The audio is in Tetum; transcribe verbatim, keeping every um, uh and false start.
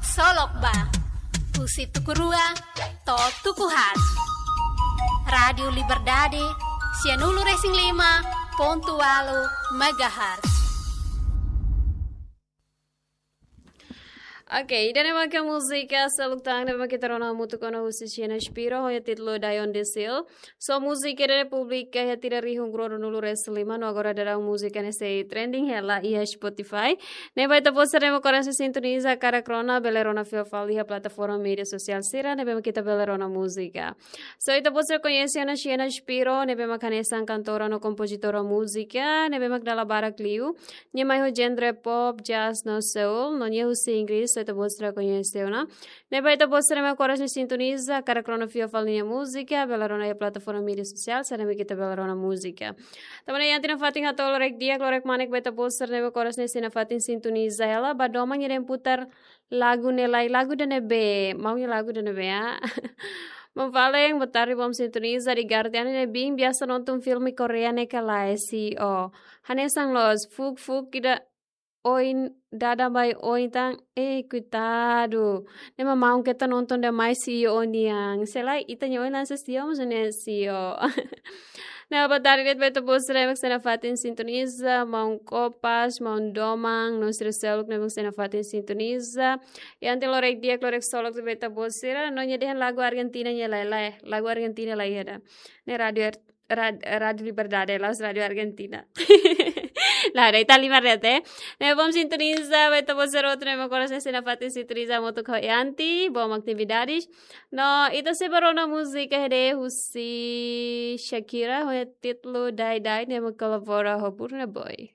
Solok ba, husi tuku rua to'o tuku haat. Rádiu Liberdade, sianulu resin lima pontu ualu megahertz. Oke, ida-ne'e mak múzika seluk tan ne'ebé mak ita rona hamutuk ona husi Xena Shapiro, ho títulu Die on the Ceiling. So múzika ne'e publika iha tinan rihun rua ruanulu resin lima, no agora daudaun múzika ne'e sei trending hela iha Spotify. Ne'ebé ita-boot sira ne'ebé mak oras ne'e sintoniza karik rona, bele rona fila fali iha plataforma média sosiál sira ne'ebé mak ita bele rona múzika. So ita-boot sira koñese ona Xena Shapiro, ne'ebé mak hanesan kantora no kompozitora múzika, ne'ebé mak dala barak liu. Nia mai ho genre pop, jazz no soul, no nia husi Inglés, so ita-boot sira koñese ona. Ne'ebé ita-boot sira ne'ebé mak oras ne'e sintoniza, karik rona fila fali nia múzika, bele rona iha plataforma média sosiál sira ne'ebé mak ita bele rona múzika. Tanba ne'e iha tinan fatin hato'o lorokraik di'ak, lorokraik kmanek ba ita-boot sira ne'ebé mak oras ne'e sei nafatin sintoniza hela, ba domin nia dehan putar lagu ne'e lai, lagu ida-ne'ebé, maun nia lagu ida-ne'ebé, ah. Maun Fallen, boa tarde, bom sintonia, Zari Garden, ne'e biin biasa nonton filme Korea ne'e ka lae, C E O. Hanesan loos, fuuk-fuuk ida oin dada mai oin tan, eh, koitadu. Ne'e mak maun keta nonton demais C E O nian. Se lae, ita-nia oin hanesan C E O, mas ne'e C E O. Ne'e boa tarde ba ita-boot sira ne'ebé mak sei nafatin sintoniza, maun Kopas, maun Doman, no sira seluk ne'ebé mak sei nafatin sintoniza. Iha tinan lorokraik di'ak, lorokraik solok ba ita-boot sira, no nia dehan lagu Argentina nia lai, lae, lagu Argentina lai ida. Ne'e rádiu Ar-, Rad-, Rádiu Liberdade, la'ós Rádiu Argentina. Lae, ita halimar de'it. Ne'e bom sintoniza ba ita-boot sira hotu ne'ebé mak oras ne'e sei nafatin sintoniza hamutuk ho Yanti, bom atividades. No, ita sei bá rona múzika ida husi Shakira, ho títulu Die Die, ne'ebé mak kolabora ho Burna Boy.